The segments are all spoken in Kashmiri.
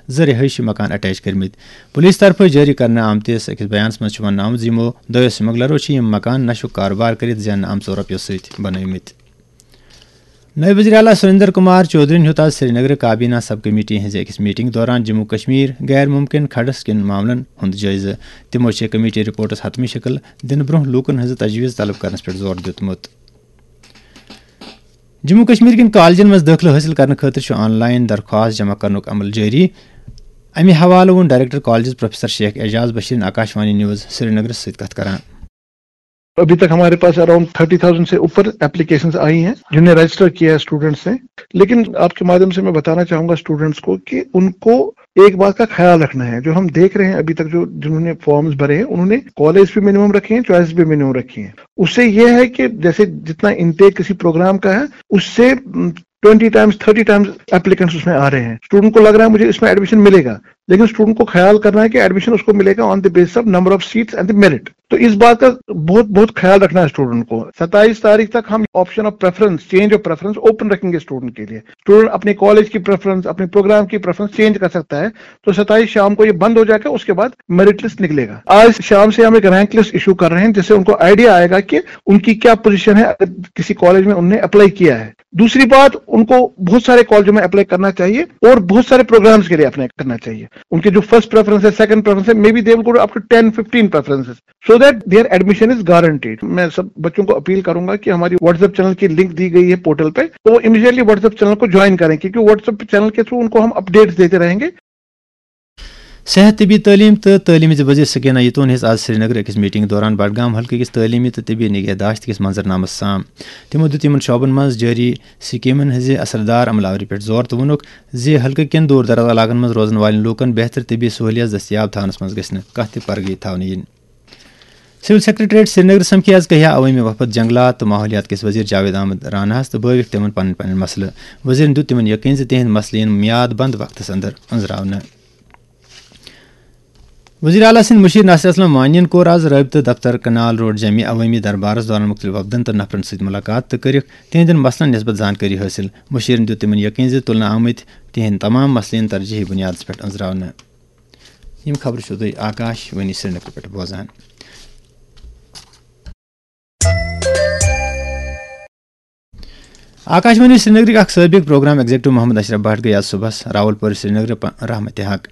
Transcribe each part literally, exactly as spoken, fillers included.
زٕ رہٲیشی مکان اٹیچ کٔرمٕتۍ۔ پولیس طرفہٕ جٲری کرنہٕ آمتِس أکِس بیانَس منٛز چھُ وننہٕ آمُت زِ یِمو دۄیو سمگلرو چھِ یِم مکان نشُک کارٕبار کٔرِتھ زیننہٕ آمژو رۄپیو سۭتۍ بنٲومٕتۍ۔ نٲیِب وزیر اعلیٰ سریندر کمار چودھرین ہیوٚت آز سرینگرٕ کابینہ سب کمیٹی ہٕنٛزِ أکِس میٹنگ دوران جموں کشمیر غیر ممکن کھڑس کٮ۪ن معاملن ہُنٛد جٲیزٕ۔ تِمو چھِ کمیٹی رپورٹس حتمی شکل دِنہٕ برٛونٛہہ لوٗکن ہٕنٛزٕ تجویز طلب کرنس پٮ۪ٹھ زور دیُتمُت۔ جموں کشمیر کٮ۪ن کالجن منٛز دٲخلہٕ حٲصِل کرنہٕ خٲطرٕ چھُ آن لائن درخواست جمع کرنُک عمل جٲری۔ امہِ حوالہٕ ووٚن director colleges professor Sheikh Ijaz بشیرن آکاشوانی نیوز سرینگرس سۭتۍ کتھ کران۔ अभी तक हमारे पास अराउंड थर्टी थाउजेंड से ऊपर एप्लीकेशंस आई हैं जिन्हें रजिस्टर किया है स्टूडेंट्स ने। लेकिन आपके माध्यम से मैं बताना चाहूंगा स्टूडेंट्स को कि उनको एक बात का ख्याल रखना है। जो हम देख रहे हैं अभी तक, जो जिन्होंने फॉर्म्स भरे हैं, उन्होंने कॉलेज भी मिनिमम रखे हैं, चॉइस भी मिनिमम रखी है। उससे यह है कि जैसे जितना इनटेक किसी प्रोग्राम का है, उससे twenty times, thirty times applicants उसमें आ रहे हैं। स्टूडेंट को लग रहा है मुझे इसमें एडमिशन मिलेगा, लेकिन स्टूडेंट को ख्याल करना है कि एडमिशन उसको मिलेगा on the basis of number of seats and the merit। तो इस बात का बहुत बहुत ख्याल रखना है स्टूडेंट को। सत्ताईस तारीख तक हम option of preference, change of preference open रखेंगे स्टूडेंट के लिए। स्टूडेंट अपने कॉलेज की प्रेफरेंस, अपने प्रोग्राम की प्रेफरेंस चेंज कर सकता है। तो सत्ताईस शाम को ये बंद हो जाएगा, उसके बाद मेरिट लिस्ट निकलेगा। आज शाम से हम एक रैंक लिस्ट इशू कर रहे हैं, जिससे उनको आइडिया आएगा कि उनकी क्या पोजीशन है अगर किसी कॉलेज में उनने अप्लाई किया है। दूसरी बात, उनको बहुत सारे कॉलेजों में अप्लाई करना चाहिए और बहुत सारे प्रोग्राम्स के लिए अप्लाई करना चाहिए। उनके जो फर्स्ट प्रेफरेंस है, सेकंड प्रेफरेंस है, maybe they will go up to ten fifteen preferences, so that their admission is guaranteed। मैं सब बच्चों को अपील करूंगा कि हमारी व्हाट्सएप चैनल की लिंक दी गई है पोर्टल पे, तो वो इमीडिएटली व्हाट्सएप चैनल को ज्वाइन करें, क्योंकि व्हाट्सएप चैनल के थ्रू उनको हम अपडेट्स देते रहेंगे। صحت طبی تعلیٖم تہٕ تعلیٖم زِ وزیر سکینہ یتون ہیٚژ آز سرینگرٕ أکِس میٹنگ دوران بڈگام حلقہٕ کِس تعلیٖمی تہٕ طبی نگہداشت کِس منظرنامس سام۔ تِمو دِیُت یِمن شعبن منٛز جٲری سکیمن ہٕنٛزِ اثردار عمل آوری پٮ۪ٹھ زور تہٕ ووٚنُکھ زِ حلقہٕ کٮ۪ن دوٗر دراز علاقن منٛز روزن والٮ۪ن لوٗکن بہتر طبی سہولیات دٔستیاب تھاونس منٛز گژھِ نہٕ کانٛہہ تہِ پرگٔی تھاونہٕ یِنۍ۔ سول سیکرٹریٹ سرینگر سمکھِ آز کہیا عوٲمی وفد جنگلات تہٕ ماحولیات کِس وزیر جاوید احمد راناہس تہٕ بٲوِکھ تِمن پنٕنۍ پنٕنۍ مسلہٕ۔ وزیرن دیُت تِمن یقین زِ تِہنٛدۍ مسلہٕ یِن میاد بند وقتس اندر أنٛزراونہٕ۔ وزیر اعلیٰ سٕنٛدۍ مُشیر ناصر اسلم وانی یَن کوٚر آز رٲبطہٕ دفتر کنال روڈ جمعی عوٲمی دربارس دوران مُختٔلِف وفدن تہٕ نفرن سۭتۍ مُلاقات تہٕ کٔرٕکھ تِہنٛدٮ۪ن مسلن نسبت زانکٲری حٲصِل۔ مُشیرن دیُت تِمن یقین زِ تُلنہٕ آمٕتۍ تِہنٛدۍ تمام مسلہٕ یِن ترجیحی بُنیادس پٮ۪ٹھ أنٛزراونہٕ۔ یِم خبرٕ چھِو تُہۍ آکاش وانی سرینگر پٮ۪ٹھ بوزان۔ آکاش وانی سرینگرٕکۍ اکھ سٲبِق پروگرام ایگزیکٹو محمد اشرف بٹ گٔیہِ آز صُبحس راولپور سرینگرٕ پ-، رحمتِ حق۔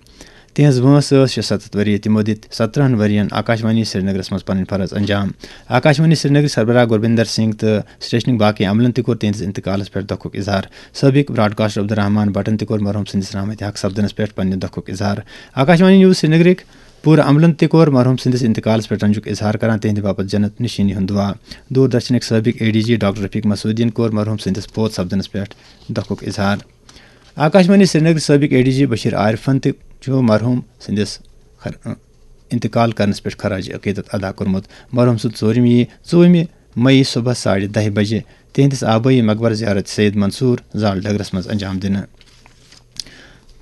تِہنٛز وٲنٛس ٲس شُسَتَتھ ؤری۔ تِمو دِتۍ سترٛہَن ؤرین آکاش وانی سرینگرس منٛز پنٕنۍ فرض انجام۔ آکاش وانی سرینگرٕکۍ سربراہ گوربندر سنگھ تہٕ سٹیشنٕکۍ باقٕے عملن تہِ کوٚر تِہنٛدِس انتقالس پٮ۪ٹھ دۄکھُک اظہار۔ سٲبِق براڈکاسٹر عبدالرحمان بٹن تہِ کوٚر مرحوم سٕنٛدِس رحمتِ حق سپدنس پٮ۪ٹھ پننہِ دۄکھُک اظہار۔ آکاش وانی نیوز سرینگرٕکۍ پوٗرٕ عملن تہِ کوٚر مرحوم سٕنٛدِس انتقالس پٮ۪ٹھ رنجُک اظہار کران تِہنٛدِ باپتھ جنت نشیٖنی ہُنٛد دعا۔ دوردرشنٕکۍ سٲبِق A D G doctor Rafiq مسعودیَن کوٚر مرحوم سٕنٛدِس فوت سپدنس پٮ۪ٹھ دۄکھُک اظہار۔ آکاش وانی سرینگرٕکۍ سٲبِق اے ڈی جی بشیر عارفن تہِ چھُ مرحوم سٕنٛدِس خر-، انتقال کرنس پٮ۪ٹھ خراج عقیدت ادا کوٚرمُت۔ مرحوم سُنٛد ژوٗرِم یی ژوٗرِمہِ مئی صبحس ساڑِ دَہہِ بجہِ تِہنٛدِس آبٲیی مقبر زیارت سید منصور زال ڈگرس منٛز انجام دِنہٕ۔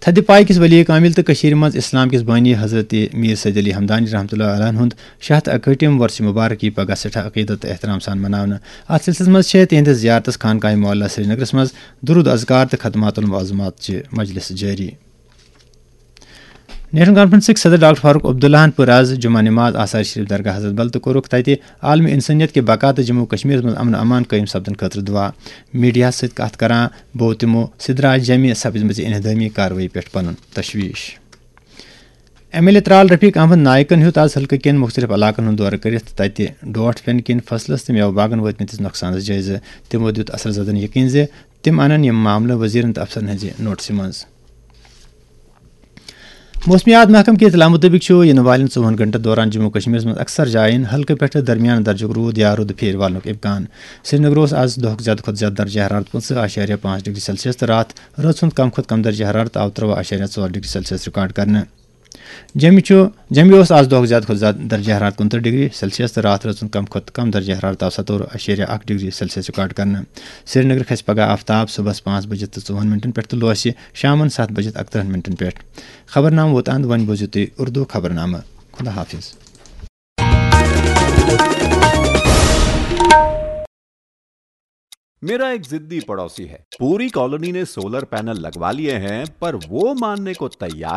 تھدِ پایہِ کِس ولی کامل تہٕ کٔشیٖرِ منٛز اسلام کِس بٲنی حضرت میر سید علی ہمدانی رحمتہ اللہ علیہ ہُنٛد شیٚے ہتھ اکہٲٹھِم وۄرثِ مبارک یی پگاہ سٮ۪ٹھاہ عقیدت تہٕ احترام سان مناونہٕ۔ اتھ سلسلس منٛز چھےٚ تِہنٛدِس زیارتس خانقاہ معلیٰ سرینگرس منٛز درود اذکار تہٕ ختمات المعظمات چہِ مجلس جٲری۔ نیشنل کانفرنسٕکۍ صدر ڈاکٹر فاروق عبداللہن پٔر آز جمعہ نماز آثار شریف درگاہ حضرت بل تہٕ کوٚرُکھ تتہِ عالمی انسانیت کہِ بقا تہٕ جموں کشمیرس منٛز امن و امان قٲیِم سپدنہٕ خٲطرٕ دعا۔ میڈیاہس سۭتۍ کتھ کران بوو تِمو سدراج جمعی سپزمٕژِ انہدٲمی کاروٲیی پٮ۪ٹھ پنُن تشویش۔ ایم ایل اے ترال رفیق احمد نائکن ہیوٚت آز حلقہٕ کٮ۪ن مُختٔلِف علاقن ہُنٛد دورٕ کٔرِتھ تتہِ ڈوٹھ پٮ۪نہٕ کِنۍ فصلس تہٕ مٮ۪وٕ باغن وٲتمٕتِس نۄقصانس جٲیزٕ۔ تِمو دیُت اثر زدن یقین زِ تِم انن یِم معاملہٕ وزیرن تہٕ افسرن ہٕنٛزِ نوٹسہِ منٛز۔ موسمیات محکمہٕ کہِ اطلاع مُطٲبِق چھُ یِنہٕ والٮ۪ن ژوٚوُہن گھنٹن دوران جموں کشمیرس منٛز اکثر جاین ہلکہٕ پٮ۪ٹھٕ درمیان درجُک روٗد یا روٗدٕ پھیرِ والنُک امکان۔ سرینگر اوس آز دۄہُک زیادٕ کھۄتہٕ زیادٕ درجہ حرارت پٕنٛژٕہ اعشاریہ پانٛژھ ڈگری سیلسیس تہٕ راتھ رٲژ ہُنٛد کم کھۄتہٕ کم درجہ حرارت آو ترٛواہ اعشاریہ ژور ڈگری سیلسیس ریکارڈ کرنہٕ۔ جمہِ چھُ، جمہِ اوس آز دۄہُک زیادٕ کھۄتہٕ زیادٕ درجہ حرارت کُنترٕہ ڈگری سیلسیس تہٕ راتھ رٲژ ہُنٛد کم کھۄتہٕ کم درجہ حرارت آو ستووُہ اعشاریہ اکھ ڈگری سیلسیس ریکارڈ کرنہٕ۔ سرینگر کھسہِ پگہہ آفتاب صبحس پانٛژھ بجہِ تہٕ ژوٚوُہن منٹن پٮ۪ٹھ تہٕ لوسہِ شامن ستھ بجہِ تہٕ اکترٕہن منٹن پٮ۪ٹھ۔ خبرنامہٕ ووت اند، وۄنۍ بوٗزِو تُہۍ اردو خبرنامہٕ۔ خدا حافظ۔ मेरा एक जिद्दी पड़ोसी है। पूरी कॉलोनी ने सोलर पैनल लगवा लिए हैं, पर वो मानने को तैयार